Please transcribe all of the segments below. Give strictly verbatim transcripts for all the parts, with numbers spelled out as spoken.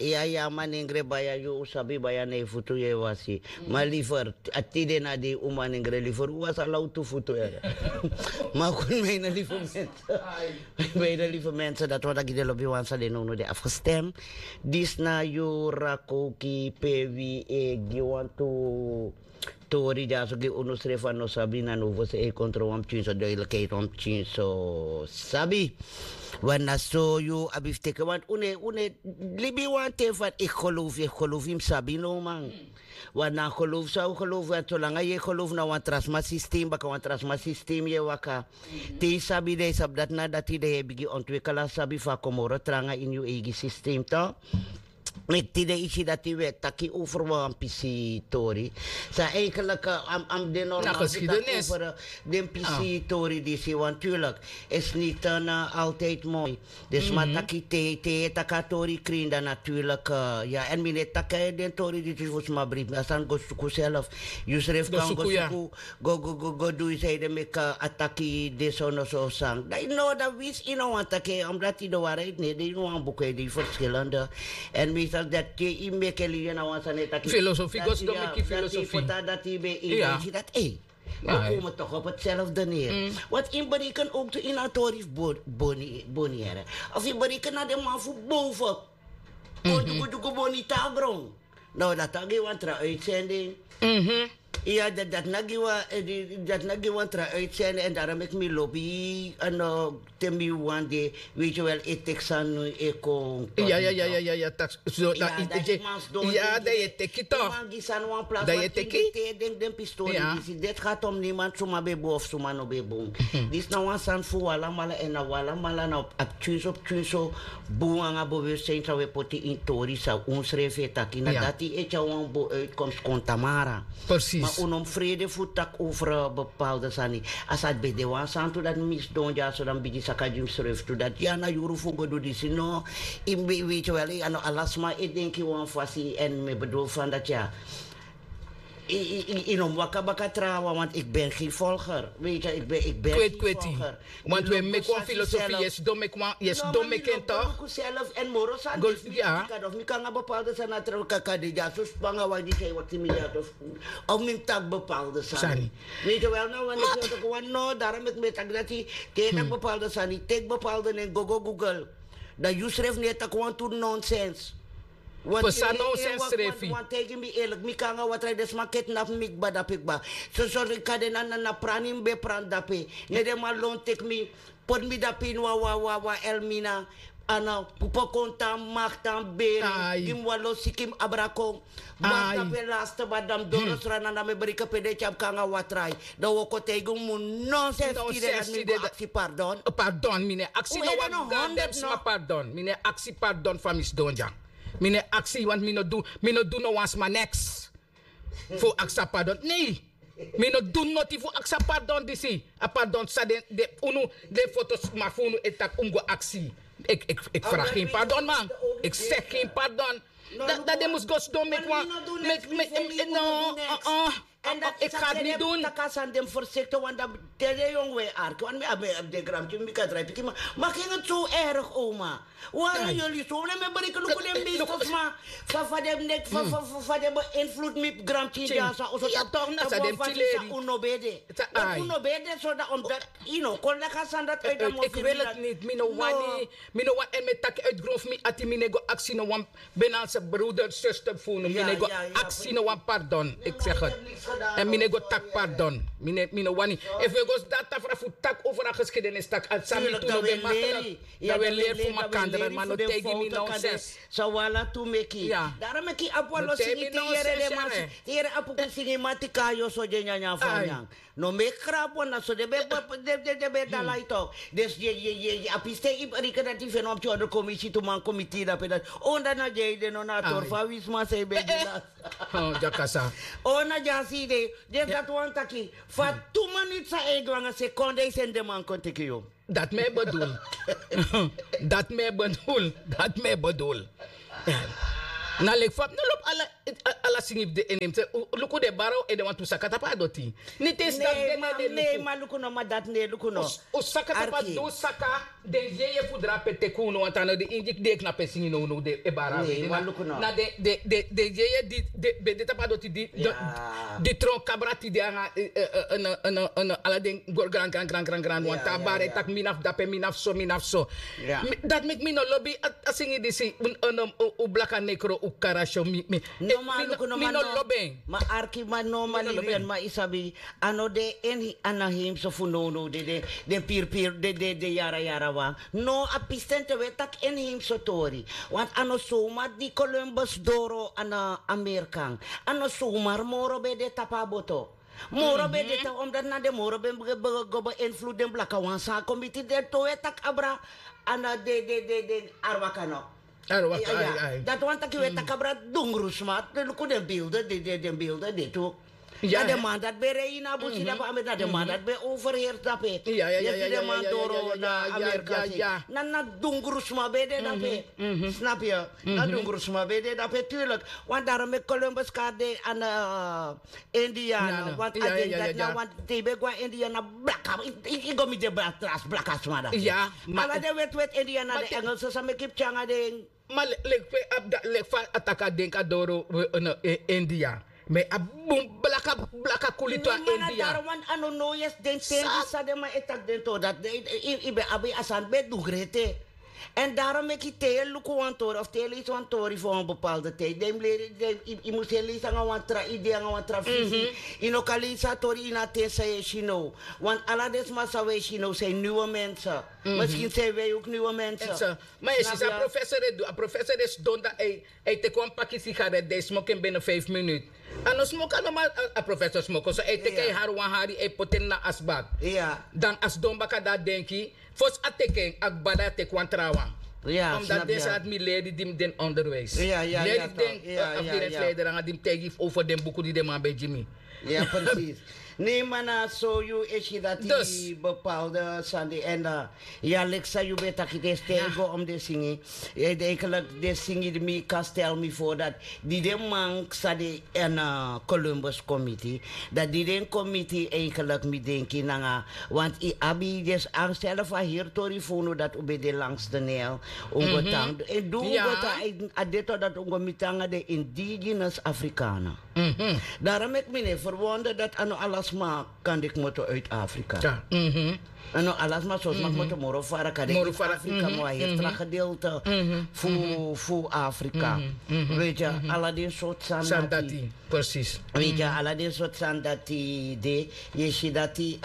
Ya ya manengre baya yu un sabi baya na yu futu yu e wasi. Ma liver a tide na dei un manengre liver un wasi ala un tu futu. Ma kun mi na liver mense. Mi na liver mense dati wan daki den lobi wan san den nownu de afgestem. Disi na yu rakoki pe wi e gi wan tu tori dyaso gi unu srefi a no sabi na no fosi e kontro wan pikin so duidelikheid wan pikin so sabi. Wan na so yu abi fu teke want un e un e libi wan ten fan eki gelofu eki gelofu yu mus sabi no man. Wan na a gelofu san un gelofu want solanga yu e gelofu na wan tra sma sistem baka wan tra sma sistem yu e waka. Te yu sabi dan yu sabi dati na dati dan yu e bigin ontwikkel a sabi fu a komoro tranga ini yu eigi sistem to. Meki tide yu si dati wi e taki over wan pisi tori. San eigenlik a mus de normal fu taki over den pisi tori disi want tuurlik is niti altijdi moi. Den sma taki te te yu e taki a tori krin dan naturlik ya èn mi no e taki den tori disi fu sma bribi a sani go suku self. Yusrefi kan go suku go go go go du yu san yu de meki a taki de so no so san dan yu no dan winsi yu no wani taki en omdati yu de wari yu no e de yu no wani buku e de yu ferskilende. Èn mi sani dati te yu meki en libi en na wan sani e taki filosofi go sidon meki filosofi. Dati yu ben yu ben si dati ei. We komen toch op hetzelfde neer. Want in bereken ook tu in a tori fu boni boni here of yu bereken na den man fu boven. Kon dyugu dyugu boni tan a gron. No dati a gi wan tra uitzending. Ya dati na gi wan tra uitzending èn darom meki mi lobi no te mi wan de. Weiti wel e teki sani e kon ya ya ya ya ya ya tak so na yu teki ya dan yu e teki to. Yu man gi sani wan plas wan ting te yu e denki den pistori disi deti gatom niman suma ben bun of suma no ben bun. Disi na wan sani fu un alamala èn na un alamala na a pikin so pikin so bun nanga bewustin san un e poti ini tori san un srefi e taki na dati e tyari wan bun uitkomst kon tamara. Ma un no mus frede fu taki over bepaalde sani. A sa ben de wan santu dati mi sidon dyaso dan mi bigin saka gi mi srefi tu dati ya na yuru fu go du disi no. Yu ben weiti wel a no ala sma e denki wan fasi èn mi e bedul fan dati ya. Yu no mus waka baka trawan want eki ben gen volger. Weiti ya eki ben eki ben gen volger. Want we meki wan filosofi yu e sidon meki wan yu e sidon meki en tok. Self èn moro sani de fu mi kado fu mi kon nanga bepaalde sani na trawan kaka de dyaso span nanga wan di san yu wakti mi dyaso. Of mi mus taki bepaalde sani. Weet je wel no wan no daro meki mi e taki dati te yu e taki bepaalde sani teki bepaalde nen go go google. Dan yu srefi no e taki wantu nonsens. Pesa nonsens srefi. Wan taigi mi eerlik mi kon nanga watra den sma ketnapu mi kba dape kba. Soso kan de na na prani mi ben prani dape. Ne den man lon teki mi poti mi dape ini wan wan wan wan elmina. Ana pupo kon tan maktan beri gi mi wan lo siki mi abra kon. Maktan pe laste bari dan mi doro srana dan mi e breke pe den e tyari mi kon nanga watra. Dan wi o kon taigi un mu nonsens tide dati mi go aksi pardon. Pardon mi no e aksi no wan gandem sma pardon mi no e aksi pardon fa mi sidon dya. Mi no e aksi want mi no du mi no du no wan sma neks. Fu aksi a pardon nei. Mi no du noti fu aksi a pardon disi. A pardon san den unu den foto sma fu unu e taki un mus go aksi. Eki fragi en pardon man. Eki segi en pardon. Dan den mus go sidon meki wan meki meki no. Èn dati eki gati ni dun. Taki a sani den mus fersekte wan dan te den yongu e arki wan mi abi den granpikin mi kan drai pikin ma maki en tu erg oma. Wari yoli so ne mi e bereken luku den meeste sma fa fa den nek fa fa fa den ben invloed mi granpikin dya sa oso tak na sa den mus fasi sa un no ben de. Un no ben de so dan omdat yu no kon leki a sani dati uit dan mi o firi mi dati. Mi no wani mi no wani èn mi e taki uit gron fu mi ati mi no e go aksi no wan. Benanse broeder zuster fu unu mi no e go aksi no wan pardon. Eki segi en mi no e go taki pardon. Mi no wani efu wi e go sidon na tafra fu taki over a geskidenis taki a sani mi tu no ben makkelijk. Dan wi e leri fu makandra ma no taigi mi nonsens. San wi ala tu meki daro meki abi wan lo singi te yere den man te yere apuku singi mati kayo so di e nyanyan fu a nyan. No meki krapu na so den ben dala yu tok. Dus a piste yu reken dati yu feni wan pikin ondro komisi tu man komiti dape dati. Onda na di a yu de no na a tori fu a wi sma san yu ben de lasi. Ona di a si yu de. Dati wan taki fa tu maniti san e du nanga sekonde yu seni den man kon teki yu. Dati mi e bedul. Dati mi e bedul. Dati mi e bedul. Na leki fa mi no lobi. Ala singi fu den e nemi se. Luku den bara un ede wantu saka tapu a doti. Ni te yu si dati den no e de luku. Ma luku no ma dati no e luku no. Un saka tapu a du saka. Den yeye fu drape teki unu wantu a no den ingi di e knapu e singi nownow den e bara a wede na den yeye di ben de tapu a doti di tron kabra tide nanga ala den goro gran gran gran gran wantu a bara e taki mi na fu dape mi na fu so mi na fu so. Dati meki mi no lobi a singi disi. Un blaka nekro un karasyo mi mi no lobi en. Ma arki ma no ma libi en ma yu sabi. A no de en ana heimso fu nownow de den pirpir de de yara yara wan. No a pisten te un e taki en heimso tori. Want a no somar di columbus doro ana amerikan. A no somar moro ben de tapu a boto. Moro ben de tapu omdati na den moro ben go ben influde den blaka wan san a kon miti den te un e taki abra. Ana de de de de arwaka no. Dati wani taki un e taki abra dungru sma. Luku den bilde de de den bilde de tu. Na den man dati ben rei ini a busi dape a meti na den man dati ben overheersi dape. Yu e si den man doro na amerika si. Na na dungru sma ben de dape. Snapu yu? Na dungru sma ben de dape turlik. Wan daro meki columbus kari de ana indiana want a den dati na wan te yu ben go na indiana blaka. Yu go miti den blaka sma dati. Ala den weti weti indiana den engelse san meki yu pikin nanga den. Ma leki fa a taki a denki a doro india. Ma a bun blaka blaka kulitu a india. Daro wan a no no yesi den ten di san den man e taki den tori dati. Yu ben abi a sani ben du grete. Èn daro meki te yu e luku wan tori of te yu e leisi wan tori fu wan bepalde tidi den yu mus e leisi nanga wan tra idei nanga wan tra fisi. Yu no kan leisi a tori ini a ten san yu e si now. Want ala den sma san wi e si now san yu niwe mense. Maskin san yu wei uk niwe mense. Ma yu e si san a professor e du a professor e sidon dan a e teki wan paki sigaret dan e smoki en bene fif minut. A no smoki a no man a professor smoko so a e teki a e hari wan hari a e poti en na asbak. Dan a sidon baka dan a denki fosi a teki en a gbada a teki wan trawan. Omdat den sati mi leri di mi den onderwijs leri den afdelingsleider nanga di mi taigi fu over den buku di den man ben gi mi. Ya presis. Ne mana so yu e si dati bepalde sani en ya leki san yu ben taki den stel go om den singi. Eigenlik den singi di mi kan stel mi for dati di den man san de en columbus komiti. Dati di den komiti eigenlik mi denki nanga want yu abi den angstele fu a heri tori fu unu dati un ben de langs de nel. Un go tan en du un go tan a deto dati un go miti nanga den indigenous afrikana. Daro meki mi no e ferwonder dati a no ala sma kan de kmoto uit afrika. A no ala sma so sma kmoto moro fara kan de uit afrika ma wan heri tra gedeelte fu afrika. Weet yu ala den sortu sani dati. Weet yu ala den sortu sani dati de yu e si dati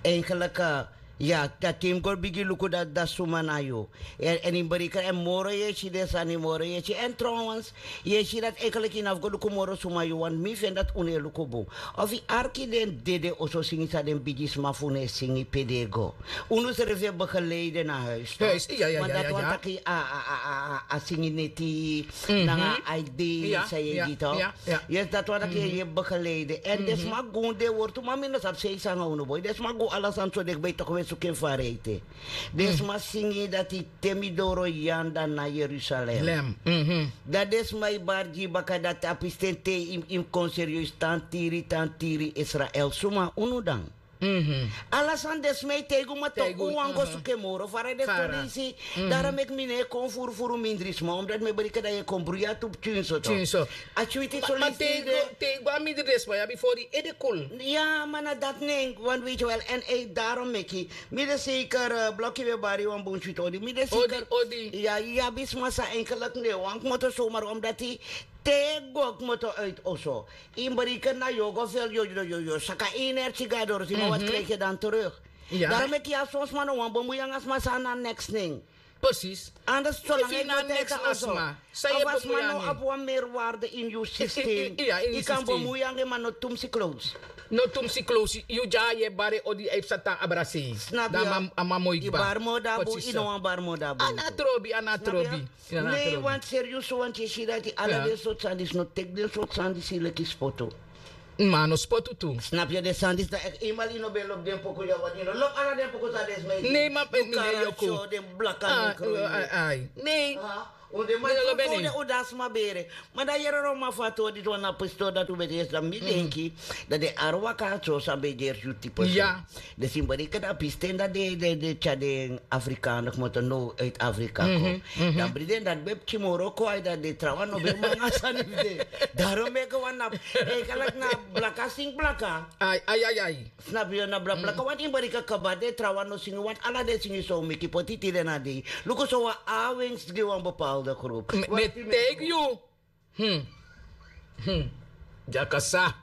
eigenlik. Ya dati yu mus go bigin luku dati dati suma na yu. Èn yu mus bereken èn moro yu e si den sani moro yu e si èn trowens yu e si dati enkeliki yu na fu go luku moro suma yu wani mi feni dati unu e luku bun. Of yu arki den dede oso singi san den bigisma fu unu e singi pe den e go. Unu srefi e begeleide na huis. Ma dati wani taki a singi neti nanga a idei san yu e gi tok. Yes dati wani taki yu e begeleide èn den sma gun den wortu ma mi no sabi sei sanga unu boi den sma gun ala sani so den kba e toki un e suku en fu a reite. Den sma singi dati te mi doro yanda na jerusalem. Dan den sma e bari gi baka dati a pisten te yu mus kon serieus tan tiri tan tiri israel suma unu dan. Ala sani den sma e taigi un ma toku un wani go suku en moro fara den stori isi. Daro meki mi no e kon furufuru mindri sma omdati mi e bereken dan yu e kon bruya tu pikin so te yu go a mindri den sma yu abi fori ede kul. Ya ma na dati nen wan weiti wel èn ei daro meki mi de seker bloki we bari wan bun switi odi mi de seker. Ya yu abi sma san enkeliki no e wani kmoto somar omdati te go kmoto uit oso. Yu mus bereken na yu o go fel yu o saka energi go a doro si ma wati kriki dan teruk. Daro meki yu a son sma no wani bemui nanga sma san na neks nen. Presis. Anders solanga yu no teki a oso. Of a sma no abi wan merwarde ini yu sistem. Yu kan bemui nanga en ma no tumsi klowsi. No tumsi klowsi yu dya yu e bari odi a yu psa tan abra sei. Snap yu? A man moi kba. Yu bari moo dan bun yu no wani bari moo dan bun. A na a trobi a na a trobi. Ne yu wani serius wani yu e si dati ala den sortu sani disi no teki den sortu sani disi leki spotu. Ma a no spotu tu. Snap yu den sani disi dan eki yu mali yu no ben lobi den poku yu a wani yu no lobi ala den poku san den sma e si. Ne yu man peki mi ne yu o kon. Den blaka nekro yu. Ne. Un de man, un de un de un de a sma bere. Ma dan yere wan man fu a tori disi wan na pistori dati un ben de yesi dan mi denki, dan den arwaka so san ben e gersi un tipe so. Den simbolika dan pisten dan den tyari den afrikano kmoto now uit afrika kon. Dan bri den dati ben pikin moro kon ai dan den trawan no ben man a sani fu den. Daron meke wan na e kalak na blaka sing blaka. Ai ai ai ai. Snapu yu na blablaka wani yu bari kaka bade trawan no singi wani ala den singi so miki poti tide na dei. Luku so wan awens gi wan bepalde grupu. Mi e taigi yu. Dyakasa.